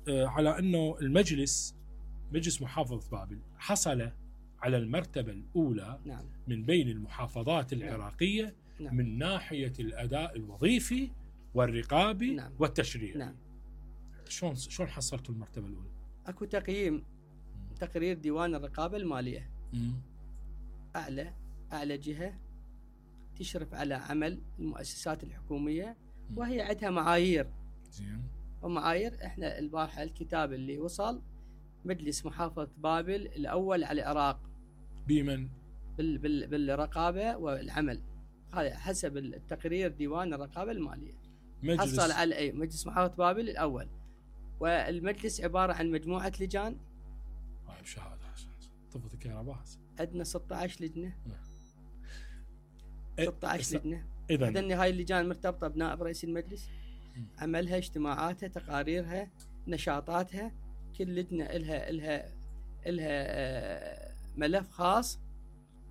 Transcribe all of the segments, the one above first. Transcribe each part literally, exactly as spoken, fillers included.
على أنه المجلس مجلس محافظة بابل حصل على المرتبة الأولى نعم. من بين المحافظات العراقية نعم. من ناحية الأداء الوظيفي والرقابي نعم. والتشريعي. نعم. شلون شلون حصلتوا المرتبة الأولى؟ اكو تقييم تقرير ديوان الرقابة المالية. مم. أعلى أعلى جهة تشرف على عمل المؤسسات الحكومية، وهي عندها معايير. زين. ومعايير احنا البارحة الكتاب اللي وصل مجلس محافظة بابل الأول على العراق بمن؟ بال بال بالرقابة والعمل، هذا حسب التقرير ديوان الرقابة المالية. مجلس حصل على أي مجلس محافظة بابل الأول، والمجلس عبارة عن مجموعة لجان. طيب شهادة طفت الكهرباء. عندنا ستة عشر لجنة. إيه ستة عشر لجنة. إذن إذن هاي اللجان مرتبطة بنائب رئيس المجلس، عملها، اجتماعاتها، تقاريرها، نشاطاتها، كل لجنة إلها إلها إلها ملف خاص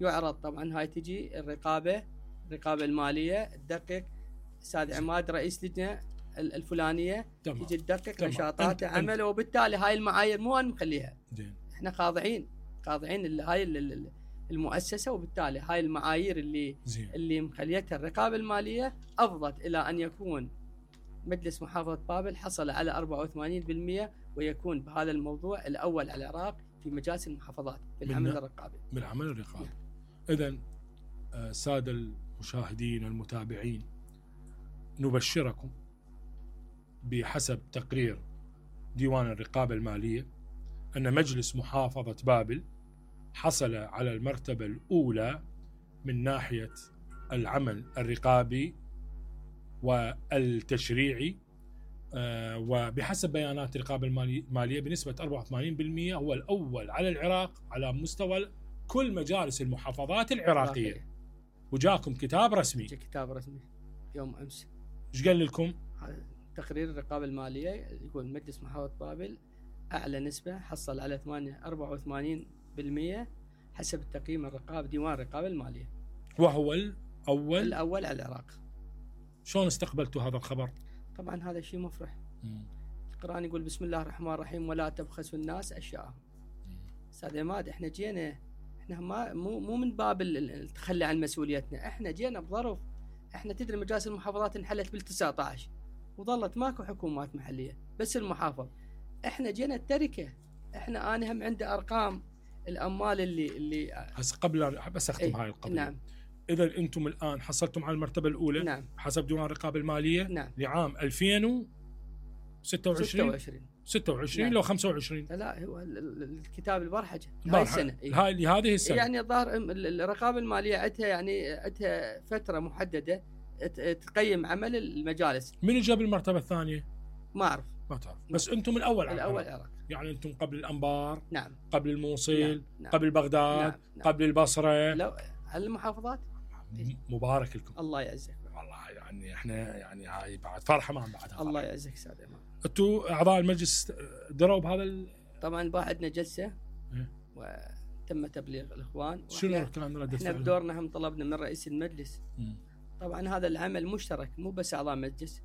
يعرض. طبعا هاي تجي الرقابة الرقابة المالية تدقق، أستاذ عماد رئيس لجنة الفلانية تمام. تجي تدقق تمام. نشاطات أنت عمل، وبالتالي هاي المعايير مو أنا مخليها. زين. احنا خاضعين خاضعين هاي المؤسسة، وبالتالي هاي المعايير اللي زين. اللي مخليتها الرقابة المالية أفضت إلى أن يكون مجلس محافظة بابل حصل على أربعة وثمانين بالمئة، ويكون بهذا الموضوع الأول على العراق في مجالس المحافظات بالعمل الرقابي. بالعمل الرقابي. إذن سادة المشاهدين والمتابعين، نبشركم بحسب تقرير ديوان الرقابة المالية أن مجلس محافظة بابل حصل على المرتبة الأولى من ناحية العمل الرقابي والتشريعي، آه وبحسب بيانات الرقابة المالية بنسبة أربعة وثمانين بالمئة هو الأول على العراق على مستوى كل مجالس المحافظات العراقية. وجاكم كتاب رسمي. كتاب رسمي يوم أمس. إيش قال لكم؟ تقرير الرقابة المالية يقول مجلس محافظة بابل أعلى نسبة، حصل على أربعة وثمانين بالمئة حسب التقييم الرقابي ديوان الرقابة المالية، وهو الأول الأول على العراق. شلون استقبلتوا هذا الخبر؟ طبعا هذا شيء مفرح. القرآن يقول بسم الله الرحمن الرحيم ولا تبخسوا الناس أشياءهم. أستاذ عماد احنا جينا، احنا ما مو مو من باب التخلي عن مسؤوليتنا، احنا جينا بظرف. احنا تدري مجالس المحافظات انحلت بالتسعة عشر وظلت ماكو حكومات محلية، بس المحافظ. احنا جينا التركة. احنا انا هم عندي ارقام الاموال اللي اللي هسه قبل بس اختم هاي القضية. نعم. اذا انتم الان حصلتم على المرتبة الاولى. نعم. حسب ديوان الرقابة المالية. نعم. لعام ألفين وستة وعشرين ستة وعشرين نعم. لو خمسة وعشرين. لا هو الكتاب البرحجة هاي السنة. هاي لهذه السنة. يعني الظاهر الرقابة المالية عندها يعني عندها فترة محددة تقيم عمل المجالس. من جاب المرتبة الثانية؟ ما أعرف. ما تعرف. بس أنتم الأول. الأول العراق. يعني أنتم قبل الأنبار. نعم. قبل الموصل. نعم. نعم. قبل بغداد. نعم. نعم. قبل البصرة. لو على المحافظات. مبارك لكم. الله يعزك. والله يعني احنا يعني هاي بعد فرحة ما بعدها. الله يعزك سادة إمام. أنتوا أعضاء المجلس دروا بهذا ال... طبعا بعد عندنا جلسة. إيه؟ وتم تبليغ الإخوان. شنو كان ردة احنا بدورنا هم طلبنا من رئيس المجلس. م. طبعا هذا العمل مشترك، مو بس أعضاء مجلس،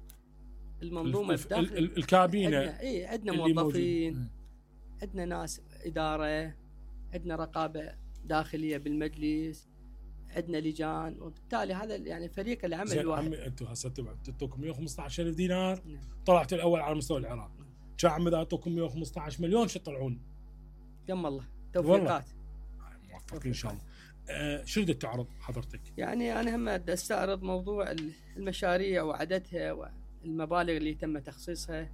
المنظومة الف... ال... ال... الكابينة. عندنا اي عندنا موظفين، عندنا ناس إدارة، عندنا رقابة داخلية بالمجلس، عندنا لجان، وبالتالي هذا يعني فريق العمل الواحد. عمي انتم هسه تعطوكم مئة وخمسة عشر ألف دينار. نعم. طلعت الاول على مستوى العراق. كان عم اذا اعطوكم مئة وخمسة عشر مليون شو تطلعون؟ يم الله توفيقات. موفقين ان شاء الله. آه شو بدك تعرض حضرتك؟ يعني انا هم استعرض موضوع المشاريع وعددها والمبالغ اللي تم تخصيصها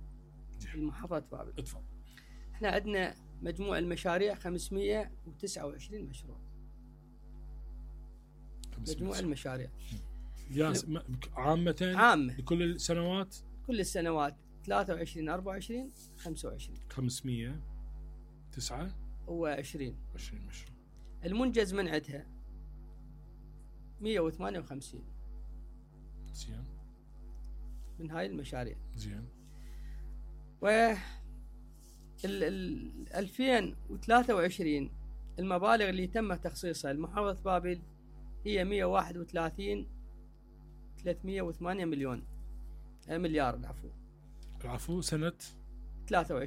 لمحافظة بابل. اتفضل. احنا عندنا مجموع المشاريع خمسمئة وتسعة وعشرين مشروع. مجموع المشاريع ياس عامة عامة لكل السنوات. كل السنوات ثلاثة وعشرين أربعة وعشرين خمسة وعشرين خمسمئة وتسعة وعشرين عشرين مشروع. المنجز من عندها مئة وثمانية وخمسين. زين. من هاي المشاريع. زين. و ال ألفين وثلاثة وعشرين المبالغ اللي تم تخصيصها لمحافظة بابل هي مئة وواحد وثلاثين ثلاثمئة وثمانية مليون مليار العفو العفو سنة ثلاثة وعشرين.